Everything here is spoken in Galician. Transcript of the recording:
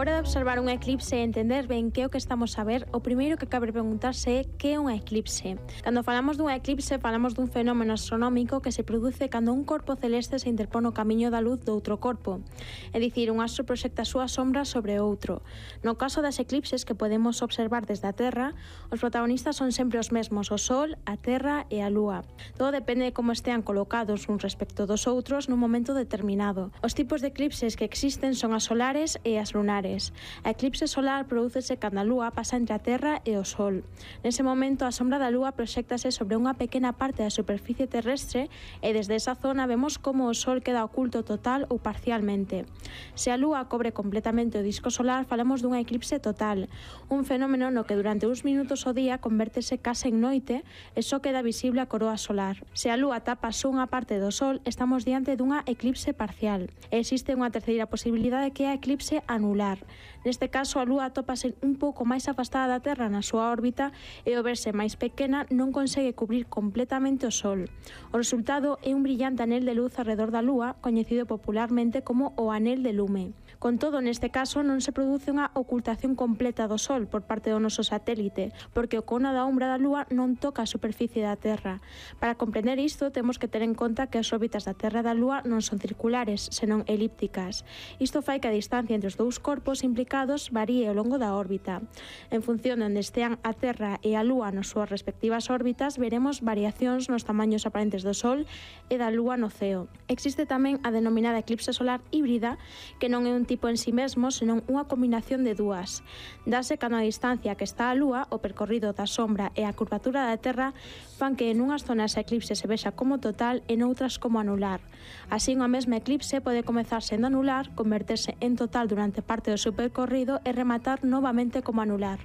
hora de observar un eclipse e entender ben que é o que estamos a ver, o primeiro que cabe preguntarse é que é un eclipse. Cando falamos dun eclipse, falamos dun fenómeno astronómico que se produce cando un corpo celeste se interpón no camiño da luz doutro corpo. É dicir, un astro proxecta a súa sombra sobre outro. No caso das eclipses que podemos observar desde a Terra, os protagonistas son sempre os mesmos, o Sol, a Terra e a Lúa. Todo depende de como estean colocados uns respecto dos outros nun momento determinado. Os tipos de eclipses que existen son as solares e as lunares. A eclipse solar prodúcese cando a Lúa pasa entre a Terra e o Sol. Nese momento, a sombra da Lúa proxéctase sobre unha pequena parte da superficie terrestre e desde esa zona vemos como o Sol queda oculto total ou parcialmente. Se a Lúa cobre completamente o disco solar, falamos dunha eclipse total, un fenómeno no que durante uns minutos ao día convértese case en noite e só queda visible a coroa solar. Se a Lúa tapa só unha parte do Sol, estamos diante dunha eclipse parcial. E existe unha terceira posibilidade que é a eclipse anular. Neste caso, a Lúa atópase un pouco máis afastada da Terra na súa órbita e ao verse máis pequena non consegue cubrir completamente o Sol. O resultado é un brillante anel de luz arredor da Lúa, coñecido popularmente como o anel de lume. Con todo, neste caso non se produce unha ocultación completa do Sol por parte do noso satélite, porque o cono da ombra da Lúa non toca a superficie da Terra. Para comprender isto, temos que ter en conta que as órbitas da Terra e da Lúa non son circulares, senón elípticas. Isto fai que a distancia entre os dous corpos implicados varíe ao longo da órbita. En función de onde estean a Terra e a Lúa nas súas respectivas órbitas, veremos variacións nos tamaños aparentes do Sol e da Lúa no ceo. Existe tamén a denominada eclipse solar híbrida, que non é un tipo en si mesmo, senón unha combinación de dúas. Dase cando a distancia que está a Lúa, o percorrido da sombra e a curvatura da Terra fan que en unhas zonas a eclipse se vexa como total e noutras como anular. Así, unha mesma eclipse pode comezar sendo anular, converterse en total durante parte do seu percorrido e rematar novamente como anular.